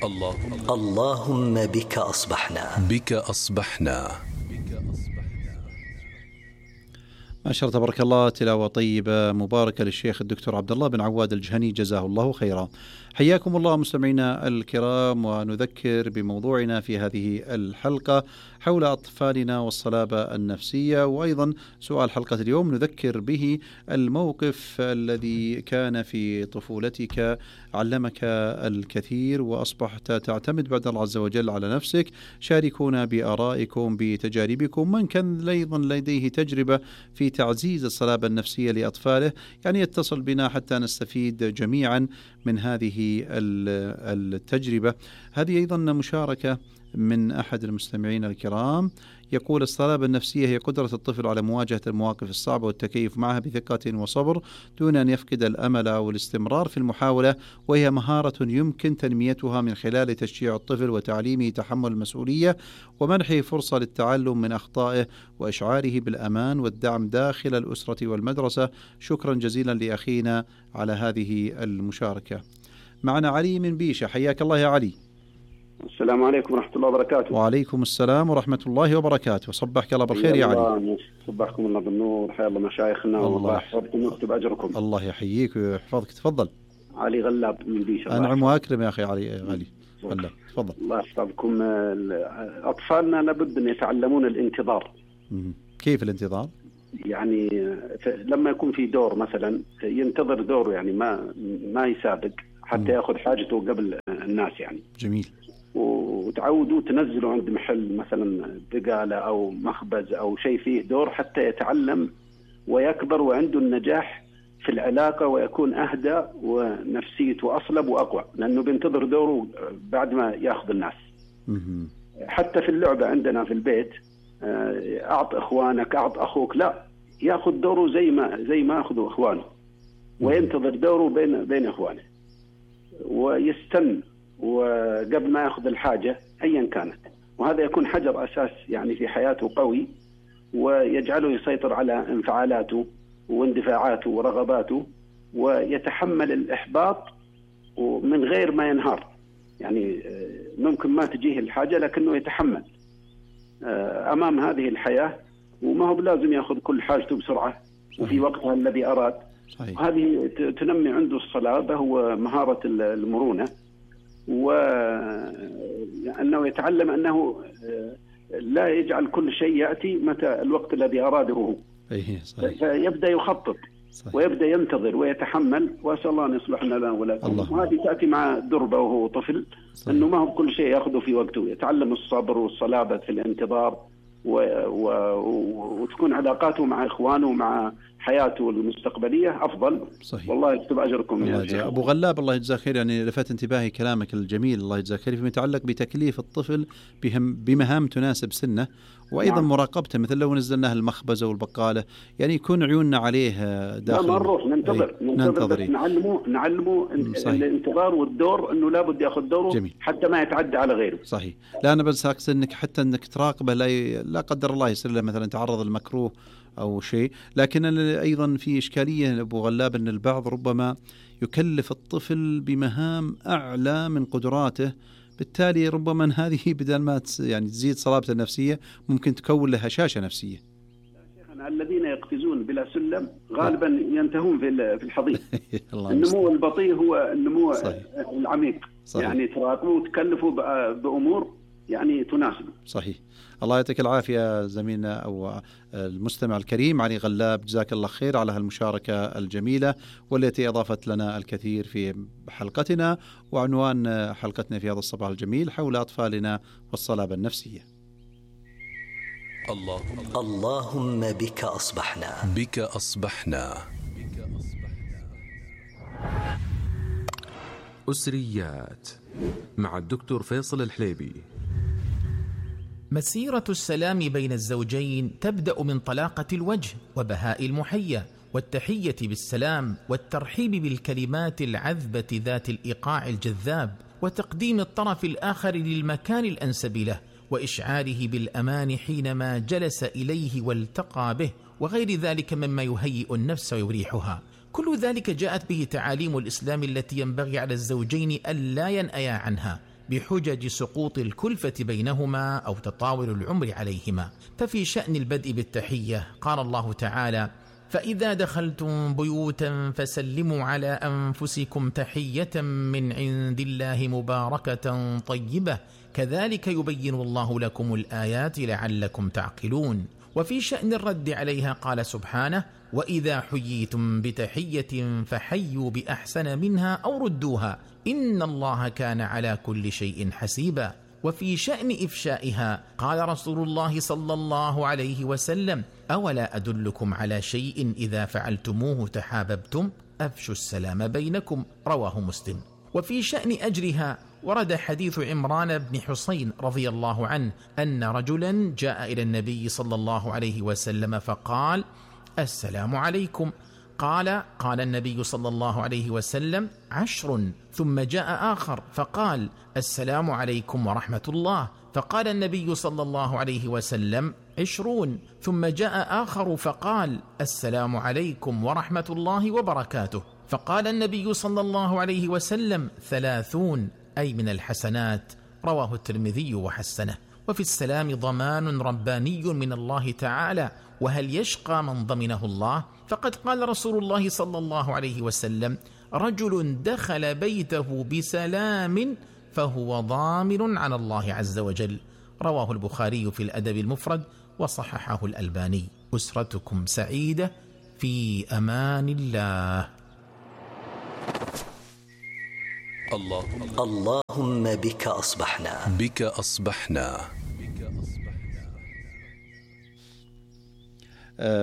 اللهم بك أصبحنا. ما شاء الله تبارك الله، تلاوة طيبة مباركة للشيخ الدكتور عبد الله بن عواد الجهني، جزاه الله خيرا. حياكم الله مستمعينا الكرام، ونذكر بموضوعنا في هذه الحلقة حول أطفالنا والصلابة النفسية، وأيضا سؤال حلقة اليوم نذكر به الموقف الذي كان في طفولتك علمك الكثير وأصبحت تعتمد بعد الله عز وجل على نفسك. شاركونا بآرائكم بتجاربكم، من كان أيضا لديه تجربة في تعزيز الصلابة النفسية لأطفاله يعني يتصل بنا حتى نستفيد جميعا من هذه التجربة. هذه أيضا مشاركة من أحد المستمعين الكرام، يقول: الصلابة النفسية هي قدرة الطفل على مواجهة المواقف الصعبة والتكيف معها بثقة وصبر دون أن يفقد الأمل والاستمرار في المحاولة، وهي مهارة يمكن تنميتها من خلال تشجيع الطفل وتعليمه تحمل المسؤولية ومنحه فرصة للتعلم من أخطائه وإشعاره بالأمان والدعم داخل الأسرة والمدرسة. شكرا جزيلا لأخينا على هذه المشاركة. معنا علي من بيشة، حياك الله يا علي. السلام عليكم ورحمة الله وبركاته. وعليكم السلام ورحمة الله وبركاته، صبحك الله بالخير يا علي. صبحكم الله بالنور، حيا الله مشايخنا والله يحفظكم ويكتب أجركم. الله يحييك ويحفظك. تفضل. علي غلاب من بيشة. أنعم وأكرم يا أخي علي غلاب، تفضل. الله يحفظكم. أطفالنا لابد أن يتعلمون الانتظار. كيف الانتظار؟ يعني لما يكون في دور مثلا ينتظر دوره، يعني ما يسابق حتى يأخذ حاجته قبل الناس يعني. جميل. وتعودوا تنزلوا عند محل مثلا بقالة أو مخبز أو شيء فيه دور حتى يتعلم ويكبر وعنده النجاح في العلاقة ويكون أهدى ونفسيته أصلب وأقوى، لأنه بينتظر دوره بعد ما يأخذ الناس. حتى في اللعبة عندنا في البيت، أعط إخوانك، أعط أخوك، لا، يأخذ دوره زي ما أخذوا إخوانه، وينتظر دوره بين إخوانه ويستنى وقبل ما يأخذ الحاجة أيا كانت. وهذا يكون حجر أساس يعني في حياته قوي، ويجعله يسيطر على انفعالاته واندفاعاته ورغباته، ويتحمل الإحباط من غير ما ينهار. يعني ممكن ما تجيه الحاجة لكنه يتحمل أمام هذه الحياة، وما هو بلازم يأخذ كل حاجته بسرعة وفي وقتها الذي أراد. هذه تنمي عنده الصلابة ومهارة المرونة، وأنه يتعلم أنه لا يجعل كل شيء يأتي متى الوقت الذي أراده هو. فيبدأ يخطط ويبدأ ينتظر ويتحمل، وأسأل الله أن يصلح لنا ولكم. وهذه تأتي مع دربة وهو طفل، أنه ما هو كل شيء يأخذه في وقته، يتعلم الصبر والصلابة في الانتظار، وتكون علاقاته مع إخوانه ومع حياته المستقبلية أفضل. صحيح. والله يكتب أجركم يا شيخ. أبو غلاب الله يجزاك خير، يعني لفت انتباهي كلامك الجميل الله يجزاك خير فيما يتعلق بتكليف الطفل بمهام تناسب سنه، وأيضا مراقبته، مثل لو نزلناه المخبزة والبقالة يعني يكون عيوننا عليه داخل. ما نروح ننتظر نعلمه الانتظار والدور، أنه لابد يأخذ دوره. جميل. حتى ما يتعدى على غيره. صحيح. لا أنا بس أقصد أنك حتى أنك تراقبه، لا قدر الله يصير له مثلا تعرض المكروه أو شيء. لكن أيضا في إشكالية أبو غلاب أن البعض ربما يكلف الطفل بمهام أعلى من قدراته، بالتالي ربما هذه بدل ما يعني تزيد صلابته النفسية ممكن تكون له هشاشة نفسية. الذين يقفزون بلا سلم غالبا ينتهون في الحضيض. النمو البطيء هو النمو العميق. صحيح. يعني تراقبوا وتكلفوا بأمور يعني تناسبه. صحيح. الله يعطيك العافية زميلنا أو المستمع الكريم علي غلاب، جزاك الله خير على هالمشاركة الجميلة والتي أضافت لنا الكثير في حلقتنا. وعنوان حلقتنا في هذا الصباح الجميل حول أطفالنا والصلابة النفسية. اللهم بك أصبحنا. أسريات مع الدكتور فيصل الحليبي. مسيرة السلام بين الزوجين تبدأ من طلاقة الوجه وبهاء المحية والتحية بالسلام والترحيب بالكلمات العذبة ذات الإيقاع الجذاب، وتقديم الطرف الآخر للمكان الأنسب له، وإشعاره بالأمان حينما جلس إليه والتقى به، وغير ذلك مما يهيئ النفس ويريحها. كل ذلك جاءت به تعاليم الإسلام التي ينبغي على الزوجين ألا ينأيا عنها، بحجج سقوط الكلفة بينهما أو تطاول العمر عليهما. ففي شأن البدء بالتحية قال الله تعالى: فإذا دخلتم بيوتا فسلموا على أنفسكم تحية من عند الله مباركة طيبة كذلك يبين الله لكم الآيات لعلكم تعقلون. وفي شأن الرد عليها قال سبحانه: وإذا حييتم بتحية فحيوا بأحسن منها أو ردوها إن الله كان على كل شيء حسيبا. وفي شأن إفشائها قال رسول الله صلى الله عليه وسلم: أولا أدلكم على شيء إذا فعلتموه تحاببتم؟ أفشوا السلام بينكم، رواه مسلم. وفي شأن أجرها ورد حديث عمران بن حسين رضي الله عنه أن رجلا جاء إلى النبي صلى الله عليه وسلم فقال: السلام عليكم. قال النبي صلى الله عليه وسلم: 10. ثم جاء آخر فقال: السلام عليكم ورحمة الله. فقال النبي صلى الله عليه وسلم: 20. ثم جاء آخر فقال: السلام عليكم ورحمة الله وبركاته. فقال النبي صلى الله عليه وسلم: 30، أي من الحسنات، رواه الترمذي وحسنه. وفي السلام ضمان رباني من الله تعالى، وهل يشقى من ضمنه الله؟ فقد قال رسول الله صلى الله عليه وسلم: رجل دخل بيته بسلام فهو ضامن على الله عز وجل، رواه البخاري في الأدب المفرد وصححه الألباني. أسرتكم سعيدة في أمان الله. اللهم بك أصبحنا. بك أصبحنا.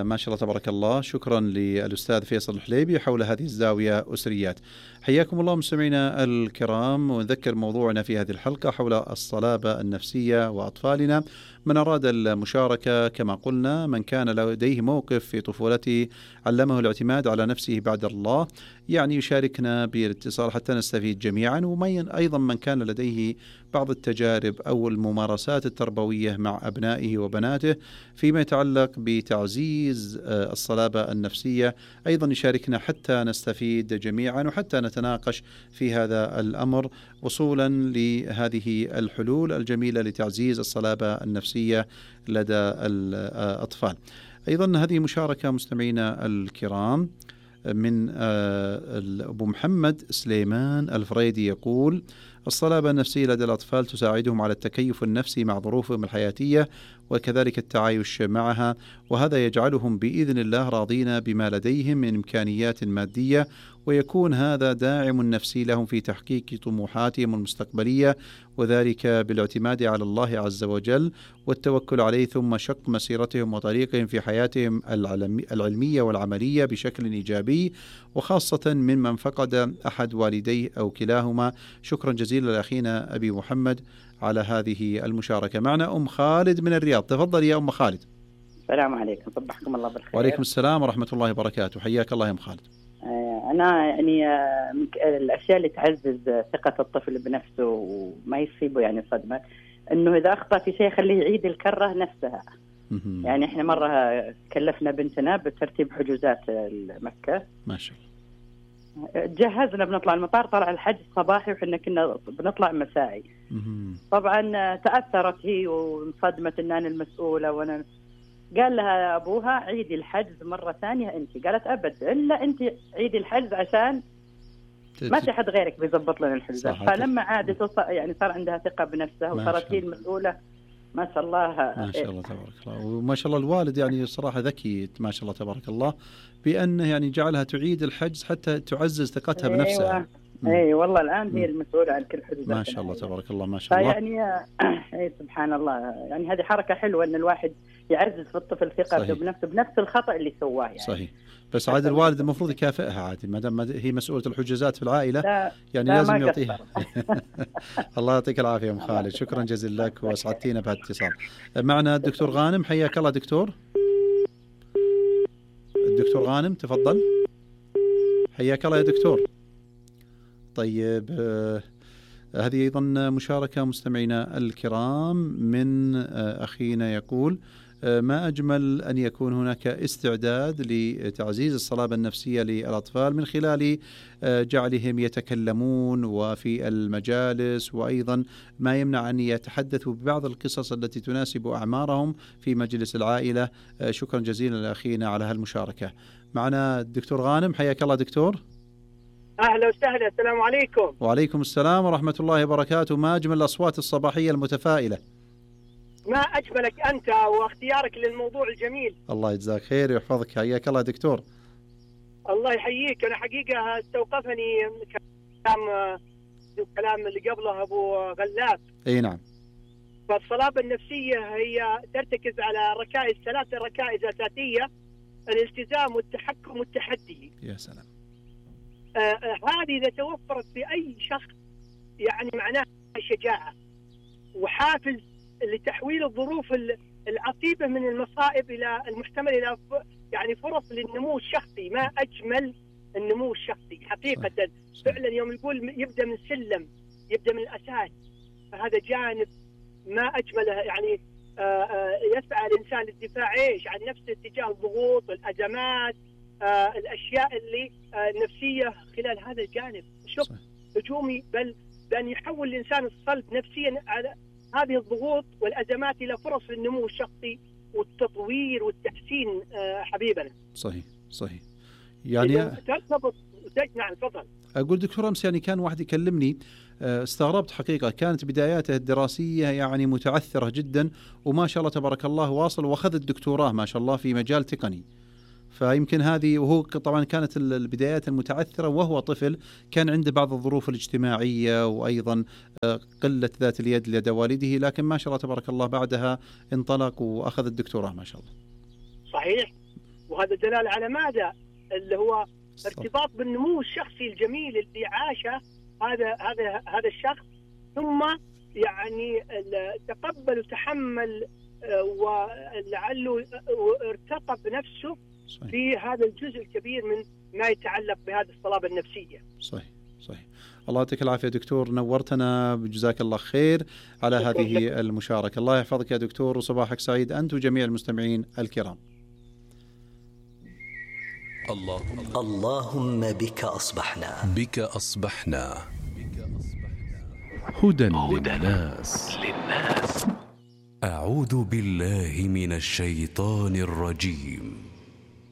ما شاء الله تبارك الله. شكرا للأستاذ فيصل الحليبي حول هذه الزاوية أسريات. حياكم الله مستمعينا الكرام، ونذكر موضوعنا في هذه الحلقة حول الصلابة النفسية وأطفالنا. من أراد المشاركة كما قلنا، من كان لديه موقف في طفولته علمه الاعتماد على نفسه بعد الله، يعني يشاركنا بالاتصال حتى نستفيد جميعا. ومن أيضا من كان لديه بعض التجارب أو الممارسات التربوية مع أبنائه وبناته فيما يتعلق بتعزيز الصلابة النفسية، أيضا يشاركنا حتى نستفيد جميعا وحتى نتناقش في هذا الأمر وصولا لهذه الحلول الجميلة لتعزيز الصلابة النفسية لدى الأطفال. أيضا هذه مشاركة مستمعينا الكرام من أبو محمد سليمان الفريدي، يقول: الصلابة النفسية لدى الأطفال تساعدهم على التكيف النفسي مع ظروفهم الحياتية وكذلك التعايش معها، وهذا يجعلهم بإذن الله راضين بما لديهم من إمكانيات مادية، ويكون هذا داعم نفسي لهم في تحقيق طموحاتهم المستقبلية، وذلك بالاعتماد على الله عز وجل والتوكل عليه، ثم شق مسيرتهم وطريقهم في حياتهم العلمية والعملية بشكل إيجابي، وخاصة ممن فقد أحد والديه أو كلاهما. شكرا جزيلا لأخينا أبي محمد على هذه المشاركة. معنا أم خالد من الرياض، تفضل يا أم خالد. السلام عليكم، صبحكم الله بالخير. وعليكم السلام ورحمة الله وبركاته، حياك الله يا أم خالد. أنا يعني من الأشياء اللي تعزز ثقة الطفل بنفسه وما يصيبه يعني صدمة، إنه إذا أخطأ في شيء خليه يعيد الكرة نفسها. يعني إحنا مرة كلفنا بنتنا بترتيب حجوزات مكة، ما شاء الله، جهزنا بنطلع المطار، طلع الحجز صباحي وحنا كنا بنطلع مسائي. طبعا تأثرت هي وانصدمت إن أنا المسؤولة، وأنا قال لها أبوها عيدي الحجز مرة ثانية أنت. قالت أبد إلا أنت عيدي الحجز عشان ما في حد غيرك بيضبط لنا الحجوزات. فلما عادت يعني صار عندها ثقة بنفسها وصارت هي المسؤولة. ما شاء الله ما شاء الله تبارك الله. وما شاء الله الوالد يعني صراحة ذكي ما شاء الله تبارك الله بأنه يعني جعلها تعيد الحجز حتى تعزز ثقتها بنفسها. اي والله الآن هي المسؤولة عن كل حجوزات. ما شاء الله تبارك الله ما شاء الله. يعني سبحان الله، يعني هذه حركة حلوة ان الواحد يعزز في الطفل ثقته بنفسه بنفس الخطأ اللي سواه يعني. صحيح، بس عاد الوالد المفروض يكافئها عادي ما دام هي مسؤولة الحجوزات في العائلة، يعني لازم يعطيها. الله يعطيك العافية ام خالد، شكرا جزيلا لك واسعدتينا بهالاتصال. معنا الدكتور غانم، حياك الله دكتور. الدكتور غانم تفضل، حياك الله يا دكتور. طيب هذه أيضا مشاركة مستمعينا الكرام من أخينا، يقول: ما أجمل أن يكون هناك استعداد لتعزيز الصلابة النفسية للأطفال من خلال جعلهم يتكلمون وفي المجالس، وأيضا ما يمنع أن يتحدثوا ببعض القصص التي تناسب أعمارهم في مجلس العائلة. شكرا جزيلا لأخينا على هالمشاركة. معنا الدكتور غانم، حياك الله دكتور. أهلا وسهلا، السلام عليكم. وعليكم السلام ورحمة الله وبركاته. ما أجمل الأصوات الصباحية المتفائلة. ما أجملك أنت واختيارك للموضوع الجميل. الله يجزاك خير ويحفظك، حياك الله دكتور. الله يحييك. أنا حقيقة استوقفني كلام اللي قبله أبو غلاف. أي نعم. فالصلابة النفسية هي ترتكز على ركائز، 3 ركائز أساسية: الالتزام والتحكم والتحدي. يا سلام. هذه إذا توفرت في أي شخص يعني معناها شجاعة وحافز لتحويل الظروف العصيبة من المصائب إلى المحتمل إلى يعني فرص للنمو الشخصي. ما أجمل النمو الشخصي حقيقة. فعلا يوم يقول يبدأ من سلم، يبدأ من الأساس، فهذا جانب ما أجمله. يعني يسعى الإنسان للدفاع عن نفسه تجاه الضغوط والأزمات، الأشياء اللي نفسية خلال هذا الجانب. شوف هجومي، بل بأن يحول الإنسان الصلب نفسيا على هذه الضغوط والأزمات إلى فرص للنمو الشخصي والتطوير والتحسين. حبيبنا صحيح يعني ترتبط. نعم تفضل. أقول دكتور أمس يعني كان واحد يكلمني، استغربت حقيقة، كانت بداياته الدراسية يعني متعثرة جدا، وما شاء الله تبارك الله واصل وأخذ الدكتوراه ما شاء الله في مجال تقني. فيمكن هذه، وهو طبعا كانت البدايات المتعثرة وهو طفل، كان عنده بعض الظروف الاجتماعية وأيضا قلة ذات اليد لدى والده، لكن ما شاء الله تبارك الله بعدها انطلق وأخذ الدكتوراه ما شاء الله. صحيح. وهذا دلالة على ماذا؟ اللي هو ارتباط بالنمو الشخصي الجميل اللي عاشه هذا الشخص، ثم يعني تقبل وتحمل ولعله ارتقى بنفسه في هذا الجزء الكبير من ما يتعلق بهذه الصلابة النفسية. صحيح. الله يعطيك العافية دكتور، نورتنا، جزاك الله خير على هذه المشاركة. الله يحفظك يا دكتور، وصباحك سعيد أنت وجميع المستمعين الكرام. اللهم بك أصبحنا هدى للناس. أعوذ بالله من الشيطان الرجيم.